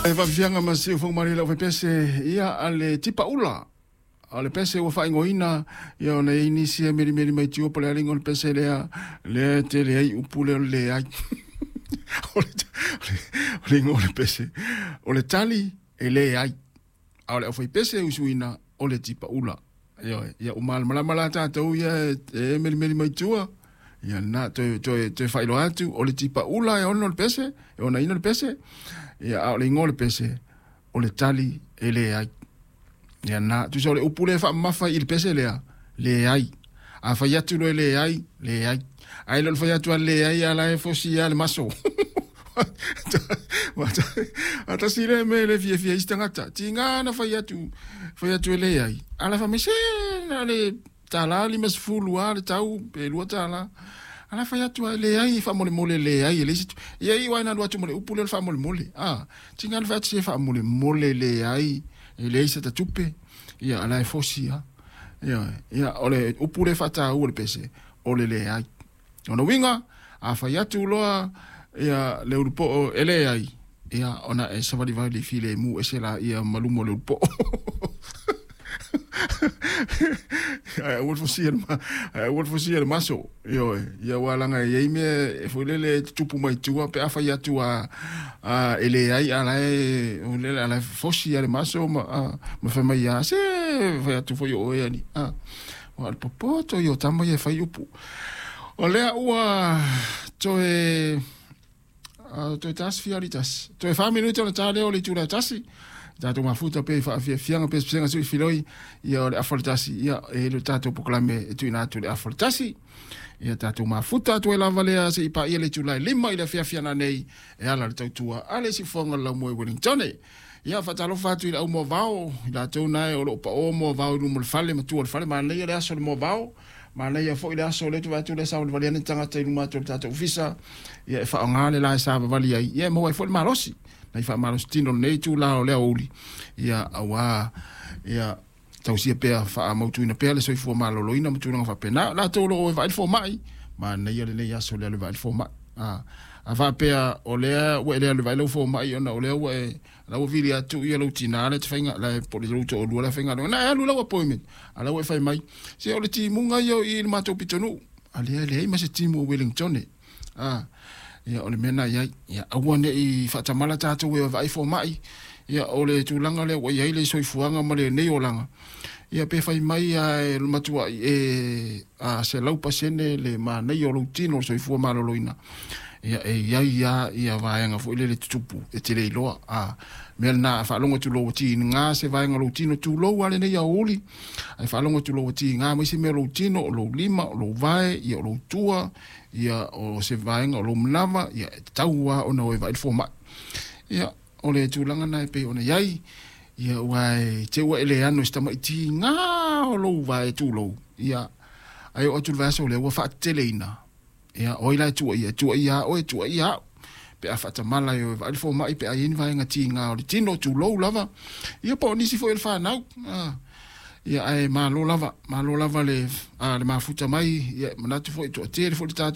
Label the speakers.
Speaker 1: E faafiafiaga ma siufogo malie lau faipese ia a le tipaula. O le pese ua faaigoaina ia ona i ai nisi e melimeli mai tua po o le a le igoa o le pese lea lea e tele ai upu lea o le leai. O le igoa o le pese o le tali e leai. A o le aufaipese e usuina o le tipaula. Ioe, ia ua malamalama la tatou ia e melimeli mai tua. Ia na toe toe toe faailoa atu o le tipaula e ono le pese, e onaina le pese. Ia a o le igoa o le pese o le tali e leai. Ia na tusa o le upu lea e faamamafa i le pese lea, leai. A fai atu loa e leai, leai. Ae le o le fai atu a leai a la e fosi lava le maso. A tasi lea mea e le fiafia ai isi tagata. Tiga na fai atu, fai atu e leai. A la fai mai se na o le $1.50 lava le tau pe $2. A la fai atu lava e leai faamolemole leai e leai se ia iu lava ina alu atu ma le upu lea o le faamolemole. A tiga na fai atu se faamolemole leai e leai se tupe. Ia a la e fosi lava. Ia, ia o le upu lea e faataua le pese o le leai. Ona uiga, a fai atu loa ia le ulupoo e leai, ia ona e savalivali filemu ese laia ma luma o le ulupoo. Ae aua le fosia le ae aua le fosia le maso. Ioe, ia aua leaga e i ai mea e foi lele e tutupu mai tua pe a fai atu a e leai a la e a la e fosi lava le maso ma ma fai mai a se fai atu foi o oe alii. A o le popoto ia o tama ia e fai upu. O lea ua toe toe tasi fia ali tasi. Toe 4 minute ona ta lea o le itula e 1. Tatou mafuta pe faafiafiaga pe pesega sui filoi ia o le afa o le 1 ia e le tatou polokalame e tuuina atu le afa o le 1. Ia tatou mafuta atu ai lava lea seia paia le itula e 5 i le afiafi ana nei e ala le tautua a le siufofoga o le laumua i Wellington. Ia faatalofa atu i le au moavao, i latou na e o loo pao moavao i luma o le fale ma tua o le fale. Manaia le aso o le moavao, manaia foi le aso o lea te atu le savalivali ane tagata i luma atu o le tatou ofisa ia e faaaoga le la e savavali ai ia e maua ai foi le malosi nai faamalosi tino lenei itula o le aoauli ia auā ia tausia pea faamautuina pea le soifua maloloina ma tulaga faapena. Latou o loo e vaai le fomai, manaia lenei aso le alu e vaai le fomai. A faapea o lea ua e le alu e vaai lau fomai ona o lea ua e la ua vili atu ia lou tinā le te faiga la po o le lou toalua la faigaluega na e alu lau appointment a la ua e fai mai se o le timuga ia i le matou pitonuu a lea leai ma se timu o Wellington a ia o le mea na iai ia aua nei faatamala tatou e vaai fomai. Ia o le tulaga lea ua iai le soifuaga ma lenei olaga ia pe fai mai a e matuai e a 100% le manaia o lou tino o le soifua maloloina ia e iai a ia vaega foi lele tutupu e te le iloa a mea lena. A faalogo atu loa ua tiga se vaega o lou tino, tulou a lenei aoauli, ae faalogo atu loa ua tiga mai se mea o lou tino, o lou lima, o lou vae ia, o lou tua ia, o se vaega o lou manava ia, e tatau lava ona o e vaai le fomai. Ia o le tulaga na e pei ona iai ia ua e te ua e le ano i se tamaitiga o lou vae, tulou ia, ae oo atu le vaiaso lea ua faateteleina ia o ai la e tuuaia? E tuuaia a oe, tuuaia au pe a faatamala e o e vaai le fomai pe a iai ni vaega tiga o le tino, tulou lava ia, po o nisi foi o le fanau ia. Ae malo lava, malo lava le mafuta mai ia manatu foi toatele foi le tatou